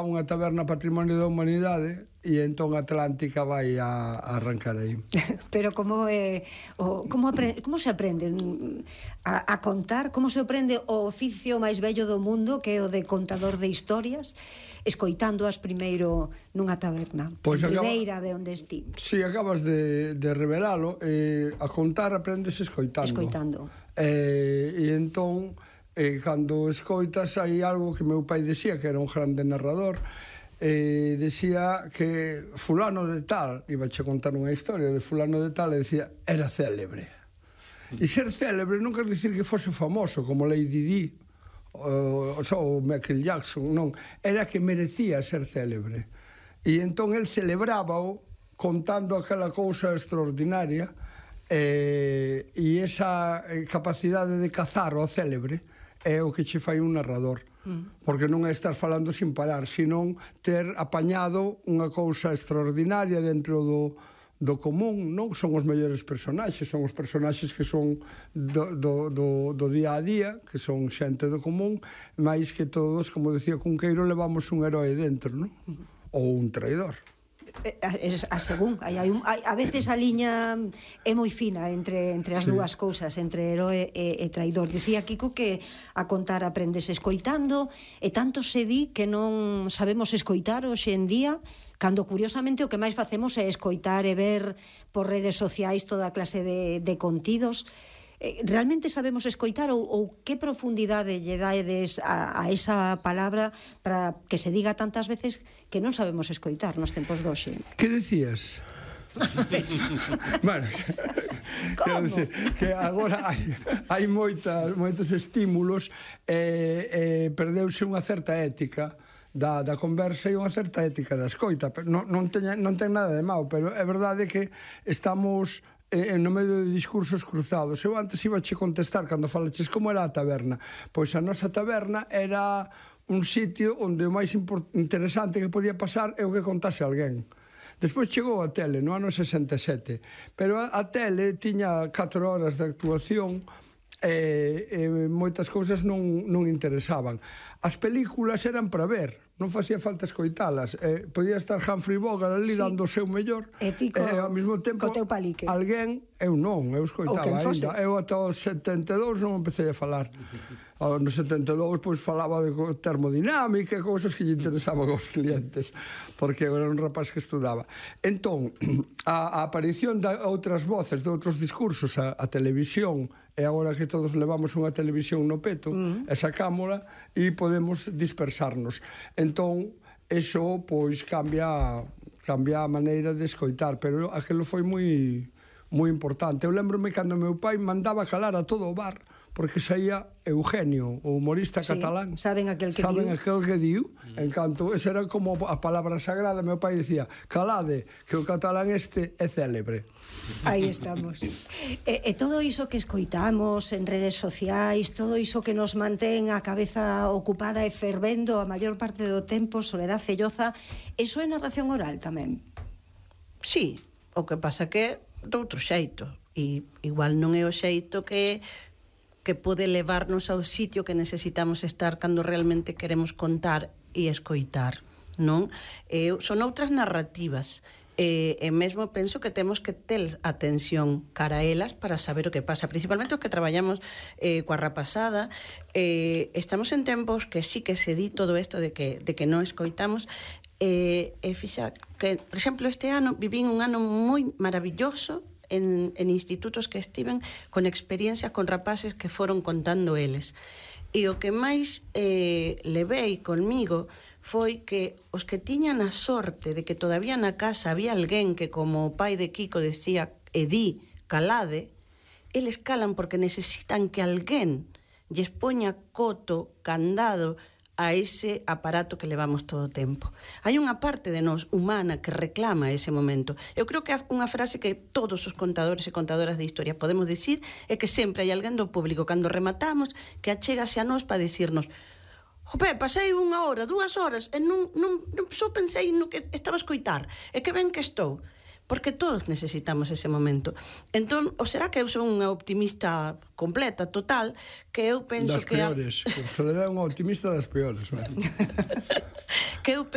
unha taberna patrimonio da humanidade e entón Atlántica vai a arrancar aí. Pero como se aprende a contar? Como se aprende o oficio máis bello do mundo, que é o de contador de historias, escoitándoas primeiro nunha taberna, Pois primeira de onde esti? Si, acabas de revelalo. A contar aprendes escoitando. E entón, cando escoitas, hai algo que meu pai decía, que era un grande narrador, decía que fulano de tal, iba a contar unha historia de fulano de tal, e decía, era célebre. E ser célebre non quer dicir que fose famoso, como Lady Di, ou Michael Jackson, non. Era que merecía ser célebre. E entón el celebrábao contando aquela cousa extraordinaria, e esa capacidade de cazar o célebre é o que che fai un narrador, porque non é estar falando sin parar, senón ter apañado unha cousa extraordinaria dentro do común, non son os mellores personaxes, son os personaxes que son do día a día, que son xente do común, máis que todos, como decía Cunqueiro, levamos un heroe dentro, non? Ou un traidor. A según, a veces a liña é moi fina entre as dúas cousas, entre heroe e traidor. Dicía Kiko que a contar aprendes escoitando, e tanto se di que non sabemos escoitar hoxe en día, cando curiosamente o que máis facemos é escoitar e ver por redes sociais toda clase de contidos. Realmente sabemos escoitar, ou que profundidade lle dades a esa palabra para que se diga tantas veces que non sabemos escoitar nos tempos doxe? Que decías? Bueno, quero dicir que agora hai moitos estímulos, perdeuse unha certa ética da conversa e unha certa ética da escoita. Non ten nada de mau, pero é verdade que estamos no medio de discursos cruzados. Eu antes iba che contestar cando falaches como era a taberna. Pois a nosa taberna era un sitio onde o máis interesante que podía pasar é o que contase alguén. Despois chegou a tele no ano 67, pero a tele tiña 4 horas de actuación e moitas cousas non interesaban. As películas eran para ver, non facía falta escoitalas. Podía estar Humphrey Bogart ali dando o seu mellor, e ti ao mesmo tempo alguén, eu non, eu escoitaba ainda. Eu ata os 72 non empecé a falar. No 72 pois falaba de termodinámica e cousas que lle interesaban aos clientes, porque eu era un rapaz que estudaba. Entón, a aparición de outras voces, de outros discursos, a televisión, e agora que todos levamos unha televisión no peto, e sacámola e podemos dispersarnos. Entón, eso pois cambia a maneira de escoitar, pero aquilo foi moi importante. Eu lembrome cando meu pai mandaba calar a todo o bar, porque saía Eugenio, o humorista catalán. Saben aquel que diu. En canto, esa era como a palabra sagrada. Meu pai dicía, calade, que o catalán este é célebre. Aí estamos. E todo iso que escoitamos en redes sociais, todo iso que nos mantén a cabeza ocupada e fervendo a maior parte do tempo, Soledad Felloza, eso é narración oral tamén? Sí, o que pasa que de outro xeito, e igual non é o xeito que pode levarnos ao sitio que necesitamos estar cando realmente queremos contar e escoitar, non? Son outras narrativas, e mesmo penso que temos que ter atención cara a elas para saber o que pasa, principalmente os que traballamos coa rapazada. Estamos en tempos que sí que se di todo isto de que non escoitamos, e fixar que, por exemplo, este ano vivín un ano moi maravilloso en institutos que estiven con experiencias con rapaces que foron contando eles, e o que máis levei conmigo foi que os que tiñan a sorte de que todavía na casa había alguén que, como o pai de Kiko decía, di, calade, eles calan porque necesitan que alguén lles poña coto, candado a ese aparato que levamos todo o tempo. Hai unha parte de nós humana que reclama ese momento. Eu creo que unha frase que todos os contadores e contadoras de historia podemos dicir é que sempre hai alguén do público, cando rematamos, que achégase a nós para dicirnos: jope, pasei 1 hora, 2 horas, e non só pensei no que estaba a escoitar, e que ben que estou. porque todos necesitamos ese momento. Entón, ou será que eu son unha optimista completa, total, que eu penso das peores. Soledad é unha optimista das peores. Que eu